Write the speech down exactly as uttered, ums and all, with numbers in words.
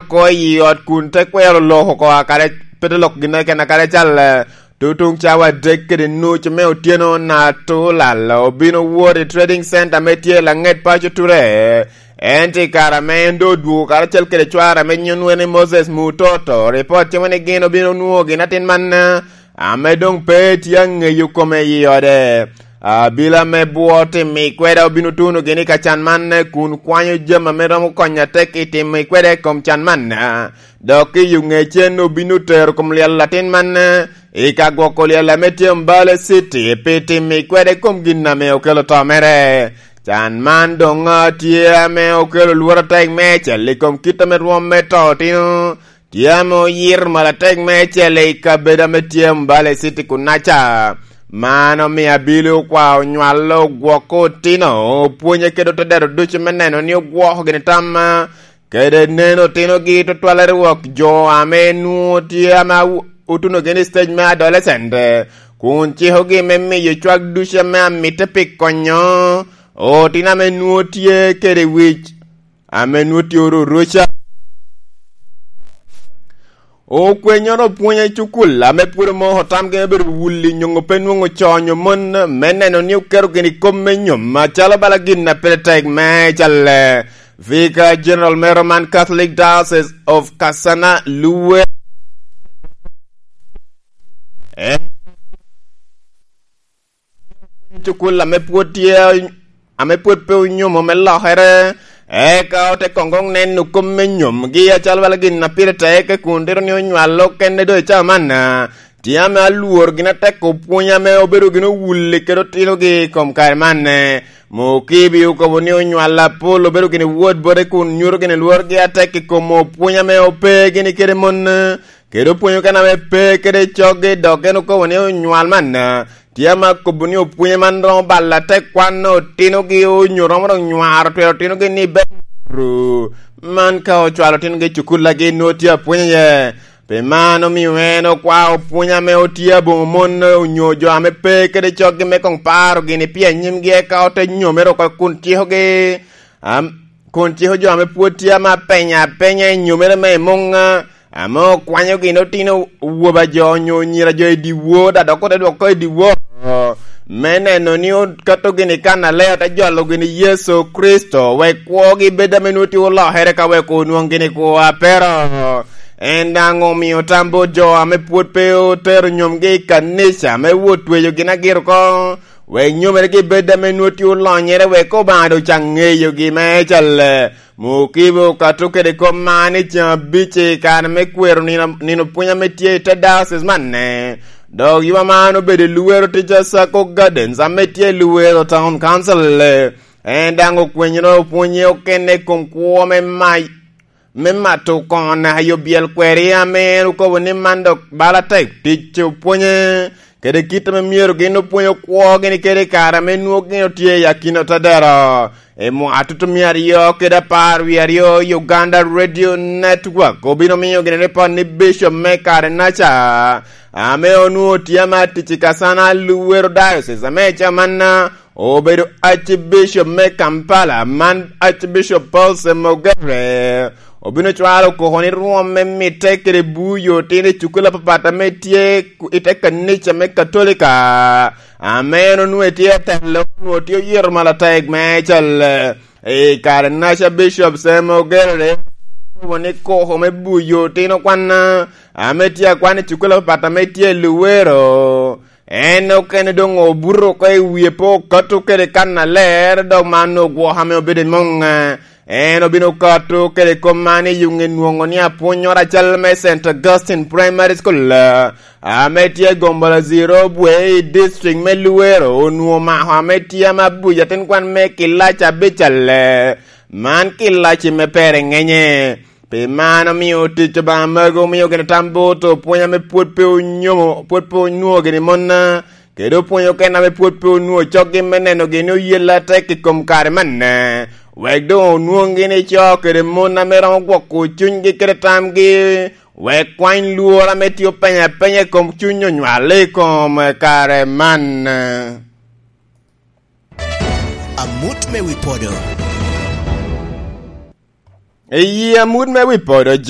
oko i ot kun te kwero lok oko, kadi pe te lok ginnoro keken, kadi cal, eh, tutuŋ cawa adek kede nuc me otyeno, Natulal obino wot i Trading Center ame tye i laŋet paco Ture. Ento i kare ame en doŋ odwogo karacel kede cware ame nyinge ni Moses Mutoto, ripot timo ni gin obino nwoŋo gin atin man, eh, ame doŋ pe tye aŋeyo kome i ode. Abila me bwo timo kwede obino tuno gini ka can man, kun kwanyo jami ame romo konyo atek i timo kwede i kom can man. Dok i yo ŋecen obino tero kom lyel atin man i ka gwoko lyel ame tye Mbale City pi timo kwede i kom gin ame okelo to mere. Can man doŋ tye ame okelo lworo atek meicel i kom kit ame rwom me to otino tye ame oyito malatek meicel i kabedo ame tye Mbale City kunaca. Man omio abili okwao onywalo ogwoko otino, opwonye kede otedero ducu me neno ni ogwoko gini tam, kede neno otinogi tutwal i rwok jo ame nwoŋo tye ame awu-, otunogi ni stage me adolescent, kun cikogi me miyo cwak ducu ame amitte pi konyo otino ame nwoŋo tye kede wic ame nwoŋo tye oro roca. Okwenyoro opwony i cukul ame pwod omoko tamgi me bedo wulli nyoŋo pe nwoŋo conyo mon me neno ni oketo gini kop me nyom acalo bala gin a pire tek me calle. Vicar General me Roman Catholic Diocese of Kasana Luwe. En cukul ame pwod tye, ame pwod pe onyomo me lokere, eka ote koŋ koŋ neno kop me nyomgi acalo bala gin a pire tek, kun tito ni onywalo kene doŋ i cawa man. Tye ame alwor gin atek opwony ame obedo gin owulli kede otinogi i kom kare man. Mukibi okobo ni onywalo Apol obedo gin wod bote kun nyuto gin lworgi atek i kom opwony ame ope gini kede mon. Kede opwonyo kan ame pe kede coggi, dok en okobo ni onywal man, tye ame akobo ni opwonyo man romo balo atek kwan otinogi onyo romo dok nywaro twero otinogi ni bero. Man ka ocwalo otinogi i cukullagi, nwoŋo tye apwony iye. Pi man omio en okwao opwony ame otye aboŋo mon onyo jo ame pe kede coggi me koŋ paro gini pi anyimgi, eka ote nyomere oko kun cikogi. Am-, kun ciko jo ame pwod tye ame apenya apenya i nyomere me muŋ, ame okwanyo gin otino woba jo onyo nyira jo i dyewor, da dok ote dwoko i dyewor, me neno ni okato gini kan aler, te jolo gini Yecu Kricito, wek kwogi bed ame nwoŋo tye olokere ka wek onwoŋ gini kwo a pero. En daŋ omio tam bot jo ame pwod pe otero nyomgi i kanica, me wot tweyo gin agiro oko. Wek nyomeregi bed ame nwoŋo tye olonyere, wek Obaŋa doŋ caŋ ŋeyogi me calle. Mukibo okato kede kop man i ceŋ abic i kare me kwero nino, nino pwony ame tye i te diocese manne. Dok yub man obedo i Luwero tic a Sacco Gardens ame tye i Luwero Town Council. En daŋ okwenyere opwonye okene i kom kwo me mac me mato koŋo naka yo byel kweri ame en okobo ni man dok bala tek tic opwonye, kede kit ame myero gin opwony okwo gini kede i kare ame nwoŋo gin otye i akina otadero. I mwaka tutumia aryo kede apar wie aryo, Uganda Radio Network obino miyo gini ripot ni Bishop me kare naca, ame onwoŋo tye ama tic i Kasana Luwero Diocese ame i cawa man, obedo Archbishop me Kampala, man Archbishop Paul Semogere, obino cwalo koko ni rwom me mitte kede buyo otino i cukul apapat ame tye ku-, i te kanica me Katolika, ame en onwoŋo tye atelo, onwoŋo tye oyito malatek me cal. I kare naca Bishop Semogere okobo ni koko me buyo otino kwan, ame tye akwan i cukul apapat ame tye i Luwero, en okene doŋ obuto oko i wie pe okato kede kan aler, dok man ogwoko ame obedo i muŋ. En obino kato kede kop man i yuŋ enwoŋo ni apwonnyoro acal me Saint Augustine Primary School, ame tye Gombolozi Robwe i district me Luwero, onwoŋo mako ame tye ame abuc atin kwan me kilaci abicalle. Man kilaci me pere ŋenye. Pi man omio tic Obaŋa magi omio gin tam bot opwony ame pwod pe onyomo, pwod pe onwoŋo gini monna, kede opwony okene ame pwod pe onwoŋo coggi me neno gini oyelle atek i kom kare manne, wek doŋ onwoŋ gini co kede mon ame romo gwoko cunygi kede tamgi, wek kwany lworo ame tye openya apenya i kom cuny onywal i kom kare man. Amut me wi podo. I yi amut me wi podo, jo